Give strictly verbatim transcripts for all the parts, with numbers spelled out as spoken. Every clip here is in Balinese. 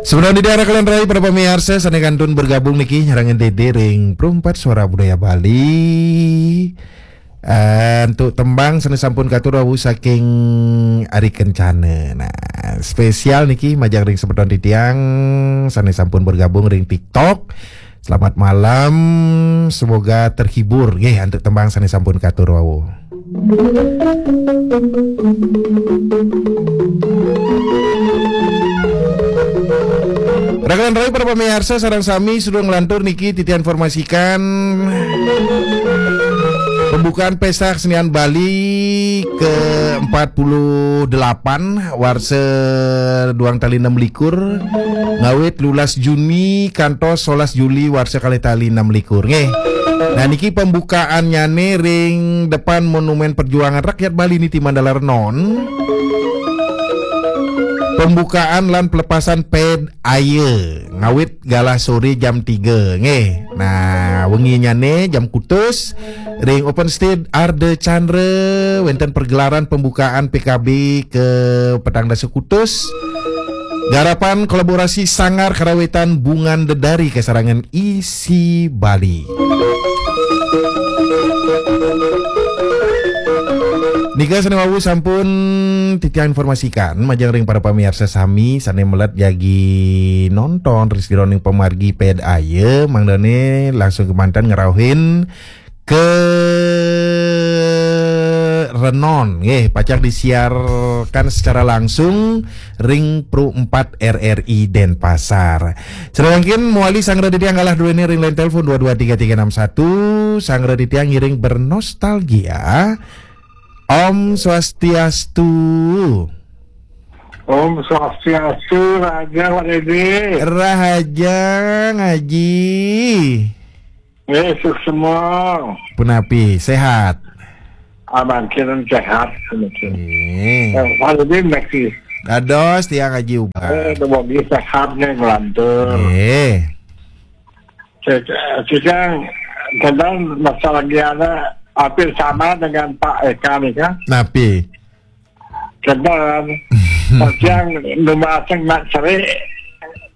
Sebenarnya di daerah kalian rai para pemirsa, sané kantun bergabung niki nyarengin Dede ring Perumpat Suara Budaya Bali. Eh, untuk tembang sané sampun katur wau saking Ari Kencana. Nah, spesial niki majeng ring semeton titiang sané sampun bergabung ring TikTok. Selamat malam, semoga terhibur nggih antuk tembang sané sampun katur wau. Rakan rai para pemirsa sareng sami, sedurung nglantur niki titiang informasikan pembukaan Pesta Kesenian Bali ke empat puluh delapan warsa duang tali enam likur, ngawit lulas Juni kantos solas Juli warsa kalih tali enam likur nggih. Nah, niki pembukaannyané ring depan Monumen Perjuangan Rakyat Bali niti Mandala Renon. Pembukaan lan pelepasan ped aya ngawit galah sore jam tiga nggih. Nah, wenginnyané jam kutus ring Open Stage Arda Chandra wénten pergelaran pembukaan P K B ke petang dasa kutus. Garapan kolaborasi Sanggar Karawitan Bungan Dedari kasarengan Isi Bali. Nika sané wau sampun titiang informasikan majeng ring para pamiarsa sami sané melet jagi nonton ring sajeroning pamargi ped aya, mangdané langsung kemanten ngrauhin ke Renon nggih, pacang disiarkan secara langsung ring Pro empat R R I Denpasar. Sané mangkin mawali sanggra titiang galah duéné ring line telepon dua dua tiga tiga enam satu, sanggra titiang ngiring bernostalgia. Om Swastiastu. Om Swastiastu, Raja Pak Dede. Rahaja ngaji. Eh, suksma. Punapi, sehat? Aman, kira sehat, mungkin. Nggih. Eh, Pak Dede, masih. Dados tiang ngaji ubah. Eh, semoga sehat nih, ngelantur. Nggih. Saya, saya kadang masalah dia ada hampir sama dengan Pak Eka nih, kan? Napi? Kadang, kadang numbasang nak cerai,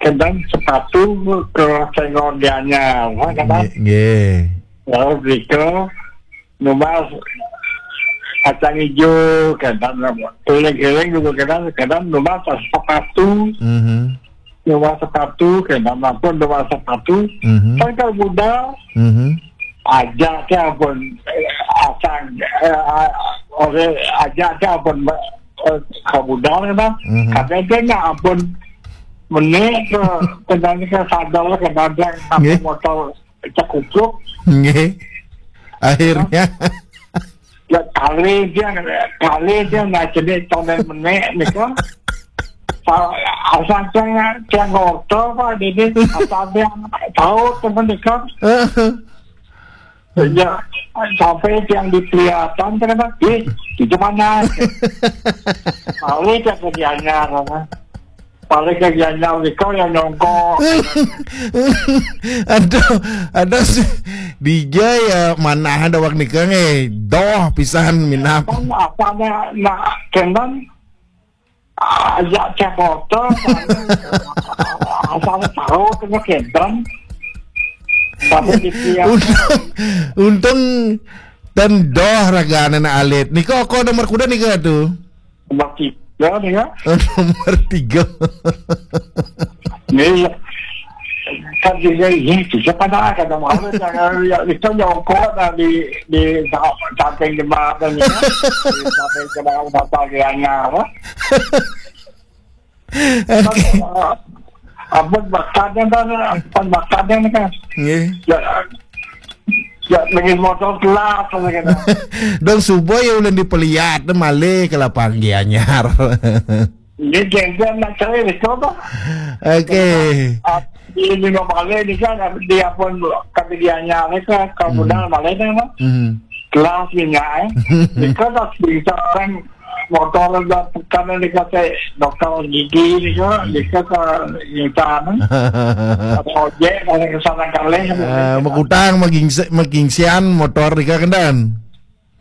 kadang sepatu ke senggol dianya, ha, kadang. Nggih, nggih. Lalu beli ke numbas kacang hijau, kadang. Keliling-keliling juga kadang, kadang numbas sepatu. Mhm. Numbas sepatu, kadang. Ampun, numbas sepatu. Mhm. Kan kalau muda, mhm, ajak ke ampun, eh, asang, eh, a-, oleh ajak ke ampun, eh, ke muda, kadang. Mhm. Kadang dia nak ampun menik ke, kadang ke sadar, kadang dia ampun, nggih, motor cekupluk. Nggih. Akhirnya. Ya, kali dia, kali dia nak jadi tonton menik nika. Sa-, asal saya, saya ngotor, Pak, jadi asal dia tahu teman nika. Ya, sampai yang dipelihatan, ternyata, "Ih, itu mana?" Kali dia kerjanya, apa? Paling kerjanya nika yang nyongkok. Aduh, aduh, si-, dija ya mana ada wak nika nggih. Doh pisan minab. Kan apa ada nak kendang, ajak cek motor, asal tahu kena kendang. Tapi di tiap untung, untung dan doh ragané alit. Nika kok nomor kuda nika tuh? Nomor tiga nih ya. Nomor tiga. Iya. Kan juga ini juga pada ada malu, jangan ya, itu nyongkok dah di, di sa-, samping jembatan ya. Di samping jembatan, apa bagiannya apa? Oke. Kan, eh, apa bakatnya kan, apa bakatnya nih kan? Nggih. Ya, ya, lagi motor kelas, lagi. Dong subuh ya ulun dipeliat, malih ke lapang Gianyar. Ini genggen nak cari itu apa? Oke. Ah, ini mau balik ini kan, dia pun kata Gianyar ini kan, kalau, hmm, budal balik ini kan. Hmm. Kelas minyak, eh. Ini kan tak bisa kan motor dah tekan ini kata dokter gigi ini kan, dia kata insan. Ada ojek, ada kesana kali. Eh, makutang, magingse-, magingsian motor nika kendan.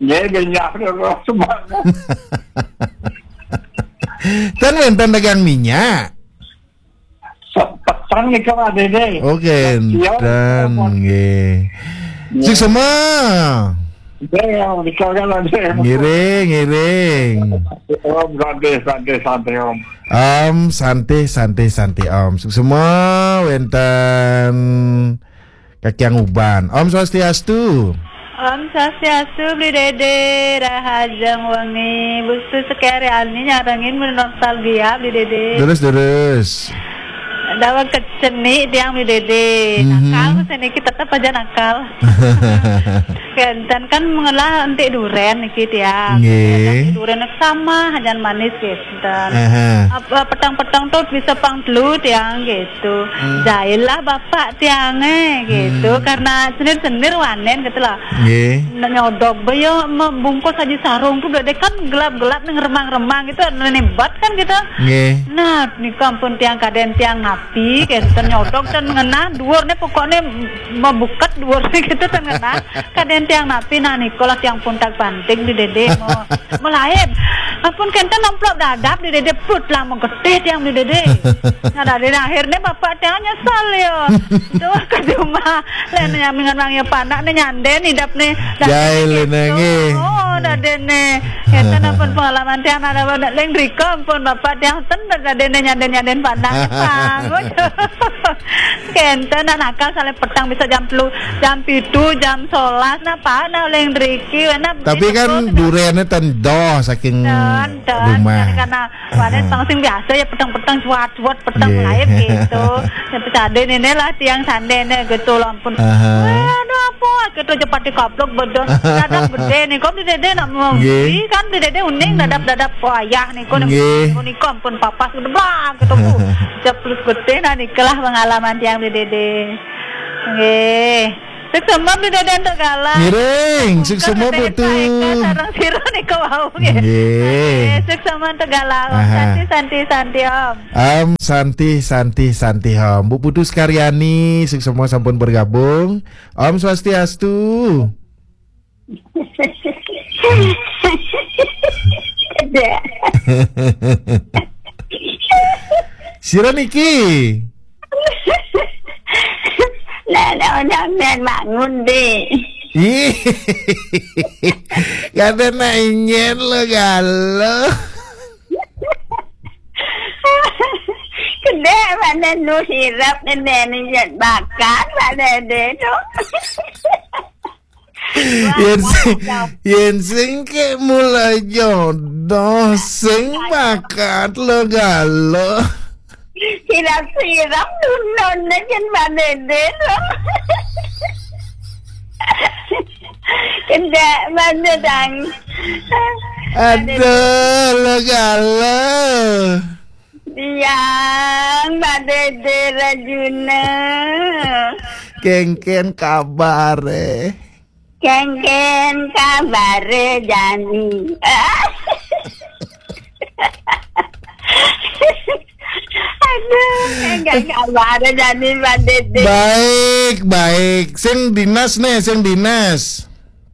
Nggih, minyak terus semangat. Kan wénten dagang minyak. Tang nika, Pak Dede. Oke, dan nggih. Suksma. Nggih, nika kan ada. Ngiring, ngiring. Om, santai, santai, santai, Om. Om, santai, santai, santai, Om. Suksma wenten Kakiang Uban. Om Swastiastu. Om Swastiastu, Bli Dede, rahajeng wengi. Bustu sekali ani nyarengin bernostalgia, Bli Dede. Terus, terus. Dawa keceni tiang, Bli Dede. Mhm. Nakal, seniki tetep aja nakal. Kenten kan mengelah entik duren niki tiang. Nggih. Entik duren sama, aja manis, kenten. Aha. Apa, petang-petang tuh bisa pang telu tiang gitu. Hmm. Jahil lah bapak tiangnya gitu. Hmm. Karena senir-senir wanen gitu lah. Nggih. Nah, nyodok be yo, me-, bungkus aja sarung tuh udah deh kan gelap-gelap nih, remang-remang gitu, ada nebat kan gitu. Nggih. Nah, nika ampun tiang kaden tiang napi, kenten nyodok dan ngenah, duur nih pokoknya mebuket duur gitu dan ngenah. Kaden tiang napi, nah, nika lah tiang puntak panting, Bli Dede, mau, mau lain. Ampun, kenten nemplok dadap, Bli Dede, put lah, mau getih tiang, Bli Dede. Nah, dari akhirnya bapak tiang nyesal ya. Tuh, ke rumah. Lain nyambingan wang ya panak, nih nyanden, hidap nih. Jahil gitu. Nangis. Oh, dadene. Kenten ampun pengalaman tiang, ada pada lain riko, ampun bapak tiang, ten dadene nyanden-nyanden panak. Pang. Kenten, nah, nakal, saling petang bisa jam telu, jam pitu, jam sebelas, nah, Pak, nah, oleh riki, nah, tapi kan duriannya tendoh saking rumah. Karena wadah pang sing biasa ya petang-petang cuat-cuat petang lain gitu. Ya pecade ini lah tiang sande ini gitu, ampun. Aha. Wah, aduh, apa gitu aja pati kaplok bedon. Dadap gede nih, kok Bli Dede nak mau beli kan Bli Dede uning dadap-dadap wayah nih, kok nih, kok nih, kok ampun papas gitu, blang gitu, Bu. Jeplus gede, nah, nikelah pengalaman tiang, Bli Dede. Nggih. Suksma, Bli Dede, untuk galah. Ngiring, suksma, Putu. Sareng sira nika wau, nggih. Nggih. Nggih, suksma untuk galah. Om Santi, Santi, Santi, Om. Om Santi, Santi, Santi, Om. Bu Putu Sekaryani, suksma sampun bergabung. Om Swastiastu. Sira niki. Lah, lah, udah men bangun, Dek. Ih. Kata nak ingin lo galo. Kedek mana nu hirap nene ni jet bakat mana dia tu. Yen sing, yen sing ke mulai jodoh, sing bakat lo galo. Sirap-sirap dunon jen manede lo. Kendak mana dang. Aduh, lo galo. Tiang, Mbak Dede Rajuna. Kengken kabare. Kengken kabare jani. Aduh, kengken kabare jani, Mbak Dede. Baik, baik. Sing dinas nih, sing dinas.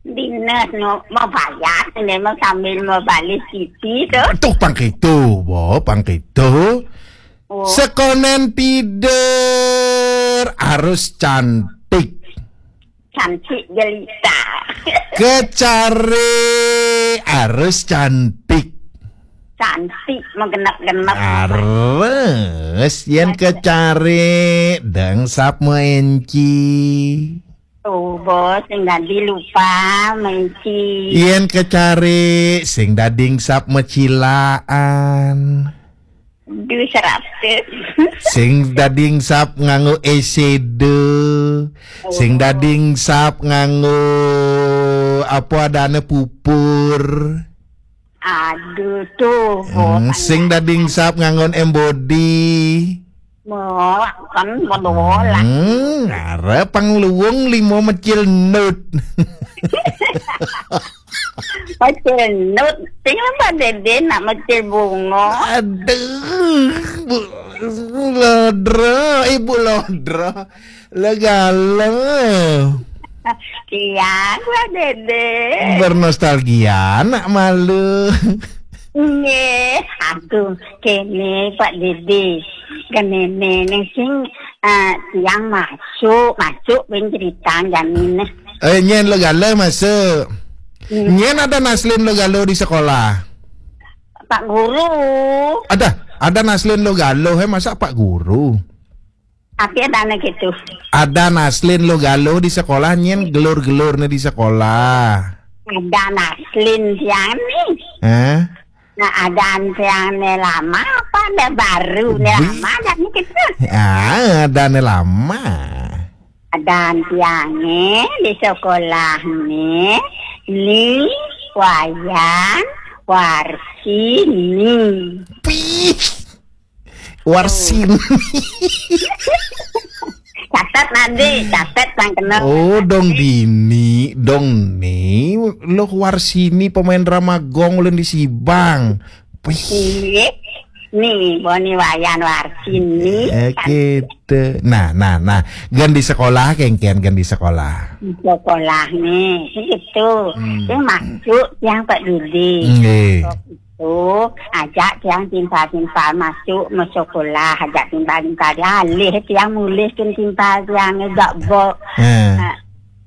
Dinas no, mau bayar, memang sambil mau balik Siti tu. Tuh pang kitu, bo, pang kitu. Oh. Sekonen tidur harus cantik. Cantik jelita. Kecari harus cantik. Cantik, menggenap-genap. Harus, yen kecari, deng sap menci. Tuh, bos, sing dadi lupa menci. Yen kecari, sing dadi sap mecilaan. Duh, seratus. Sing dadi sap nganggo esede. Oh. Sing dadi sap nganggo apa adane pupur. Aduh, tuh, hmm, sing dadi sap nganggon embodi. Mau kan mau bola. Hmm, arep pang luwung limo mecil nut. Mecil nut, sing apa Dede nak mecil bunga? Aduh, Bu Lodro, Ibu Lodro. Legalo. Iya, Pak Dede. Bernostalgia, nak malu. Nggih, aduh, kene Pak Dede. Kenene ning sing Eh, tiang masuk, masuk pun cerita jamin. Eh, nyen lo galo masuk. Hmm. Nyen ada naslin lo galo di sekolah. Pak Guru. Ada, ada naslin lo galo, eh, masa Pak Guru? Tapi ada anak itu. Ada naslin lo galo di sekolah, nyen gelur-gelur nih di sekolah. Ada naslin siang nih. Eh? Nah, ada tiang ne lama apa ne baru ne lama ada ne kita. Ah, ada ne lama. Ada tiang ne di sekolah ne, ni Wayan Warsini. Pih. Warsini. Catat nanti, catat yang kena. Oh, dong dini, dong ni. Lo Warsini pemain drama gong ulun di Sibang. Wih. Iya. Nih, Boni Wayan Warsini. Eh, gitu. Nah, nah, nah. Gan di sekolah, kengkian gan di sekolah. Di sekolah nih, gitu. Hmm. Dia masuk yang Pak Dudi. Nggih. Masuk, ajak tiang timpal-timpal masuk, mau sekolah, ajak timpal-timpal. Alih tiang mulih kin timpal tiang, gak bok. Eh.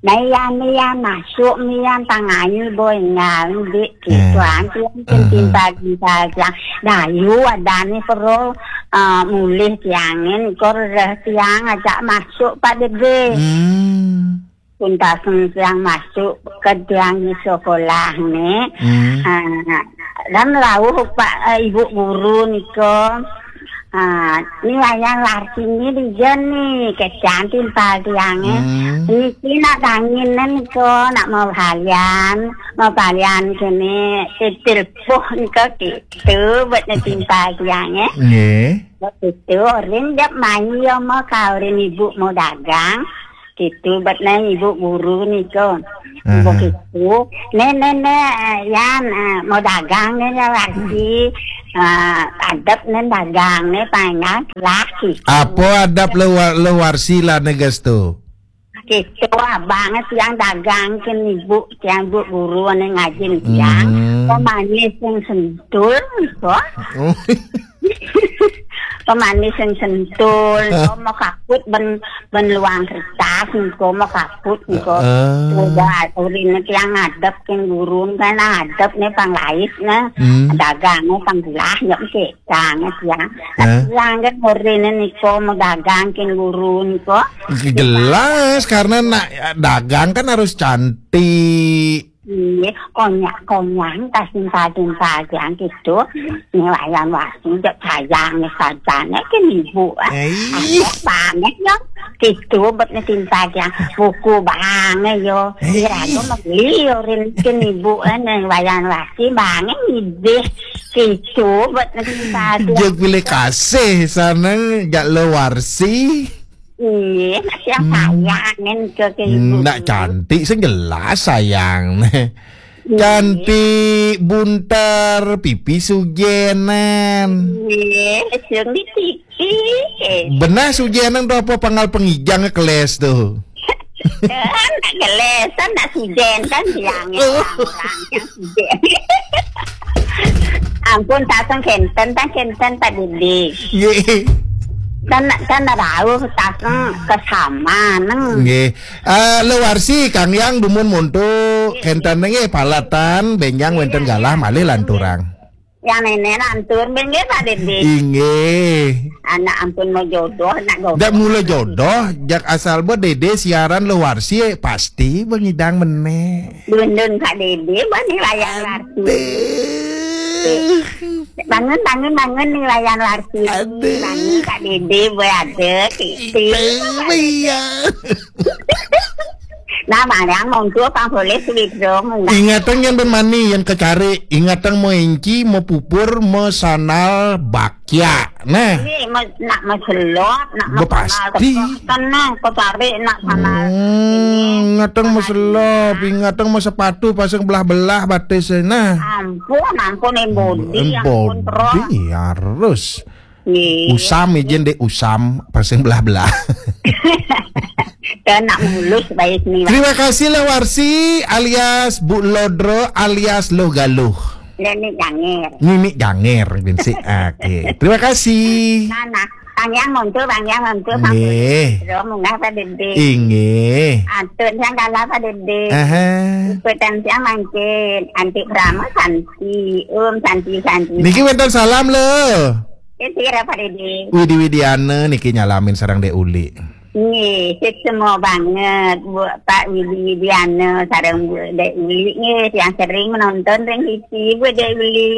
Nah, iya, iya, masuk, iya, tangannya boy, ngal, dik, gitu, eh, anti, anti, eh, timpal-timpal tiang. Dayu, ada nih, perlu, eh, mulih tiangin, kor, reh tiang, ajak masuk, Pak Dede. Hmm. Tuntasen tiang masuk ke tiang di sekolah nih. Hmm. Ah, dan rauh Pak, eh, Ibu Guru niko. Ah, ni wayang Warsini di jen nih, kecang timpal tiangnya. Hmm. Niki nak dangin niko, nak mau balian, mau balian kene titil puh niko gitu, buat ne timpal tiangnya. Nggih. Buat itu, orin dek mayu mau kau orin ibu mau dagang. Gitu, bet neng ibu guru niko. Aha. Begitu. Nih, nih, nih, eh, Yan, eh, mau dagang nih, ya, Warsi. Eh, adep nih dagang nih, panjang laki. Apa adep lo wa-, lo Warsi lah neges tu? Gitu, abang tiang dagang kin ibu, tiang bu guru nih ngajin tiang. Hmm. Pemanis yang sentul, kok. Oh. Pemanis yang sentul, eh, kok mau kaput ben, ben luang kertas, kok mau kaput, kok. Eh. Coba urin tiang ngadep kin gurun kan adep nih pang lais nih. Hmm. Dagang nih pang belah, ya, oke, sangat ya. Eh. Tiang kan urin nih kok mau dagang kin gurun kok. Jelas, karena nak dagang kan harus cantik. Iya, konyak-konyak, tas timpal-timpal yang gitu. Ini wayang Warsi, cek sayang nih sajane kan ibu, ah. Eh, iya. Ada banget ya. Gitu, bet nih timpal yang buku banget yo. Eh, kira aku iya. Mau beli yo, rinkin ibu, eh, nih wayang Warsi banget idih. Gitu, bet nih timpal yang. Jek pilih kasih, sana jak lo Warsi. Iya, nak yang hmm. Sayangin ke, ke ibu. Nak cantik sing jelas sayang. Iya. Cantik bunter, pipi sujenan. Iya, sing di pipi. Benah sujenan tu apa panggal pengijang keles tu? Kan nak keles, kan nak sujen, kan bilangnya orang-orang yang sujen. Ampun, taseng kenten, tan kenten, Pak Dede. Nggih. Kan, kan rauh taseng kesama, neng. Nggih. Eh, lo Warsi, Kang Yang, dumun monto, nggih, kenten nggih, palatan, benjang, nggih, wenten galah, malih lanturang. Yang nenek lantur, nggih, Pak Dede. Inggih. Anak ampun mau jodoh, nak jodoh. Jak mula jodoh, jak asal buat Dede siaran lo Warsi, pasti bengidang meneh. Dundun Pak Dede, bani wayang Warsi. Aduh. Bangun, bangun, bangun nih wayang Warsi. Aduh. Bangun Pak Dede, boy ada. Itu, Pak Dede. Nah, Mariang, monggo pang boleh sweet dong. Ingatang yang bermani, yang kecari. Ingatang mau inci, mau pupur, mau sanal, bakya. Nah. Ini mau, nak mau selop, nak mau pasti. Tenang, kecari, nak sanal. Hmm, ingatang mau selop, ingatang mau sepatu, pasang belah-belah batis, nah. Ampun, ampun, embodi, ampun, terus. Embodi, harus. Iya. Usam, izin deh, usam, pasang belah-belah. Kena mulus baik nih. Terima kasih lah Warsi alias Bu Lodro alias Lo Galuh. Nini Janger. Nini Janger, bin si. Oke, terima kasih. Nah, nah. Bang Yang monto, Bang Yang monto, Bang Nggih. Bro, munggah Pak Dede. Inggih. Atun siang kalah Pak Dede. Aha. Ikutan siang mangkin, anti krama santi, um santi santi. Niki wénten salam lho. Sira Pak Dede. Widi Widiana niki nyalamin sareng Dek Uli. Nggih, sik semua banget Bu Pak Widi Widiana sareng Bu Dek Uli nggih yang sering menonton ring T V Bu Dek Uli.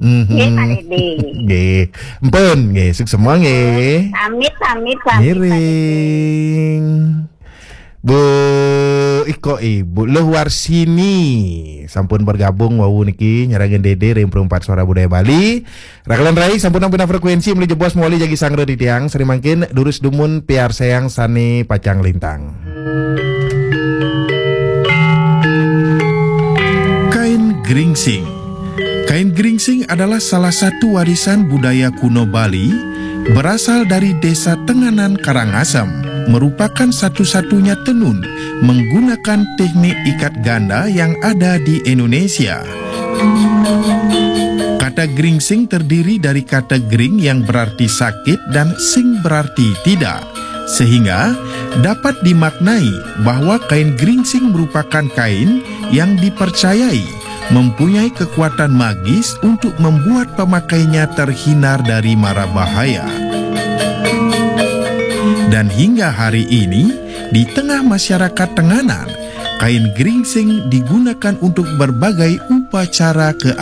Mhm. Nggih, Pak Dede. Nggih. Mpun, nggih, suksema nggih. Pamit, pamit, pamit, Pak Dede. Ngiring. Bu Iko Ibu Luh Warsini sampun bergabung wau niki nyarengin Dede ring Perempat Suara Budaya Bali. Rakelan rai sampun nampi frekuensi meli jebos mawali jagi sanggra titiang. Sari mangkin durus dumun piarsayang sane pacang lintang. Kain geringsing. Kain geringsing adalah salah satu warisan budaya kuno Bali, berasal dari Desa Tenganan Karangasem, merupakan satu-satunya tenun menggunakan teknik ikat ganda yang ada di Indonesia. Kata geringsing terdiri dari kata gering yang berarti sakit dan sing berarti tidak. Sehingga dapat dimaknai bahwa kain geringsing merupakan kain yang dipercayai mempunyai kekuatan magis untuk membuat pemakainya terhindar dari mara bahaya. Dan hingga hari ini, di tengah masyarakat Tenganan, kain geringsing digunakan untuk berbagai upacara keagamaan.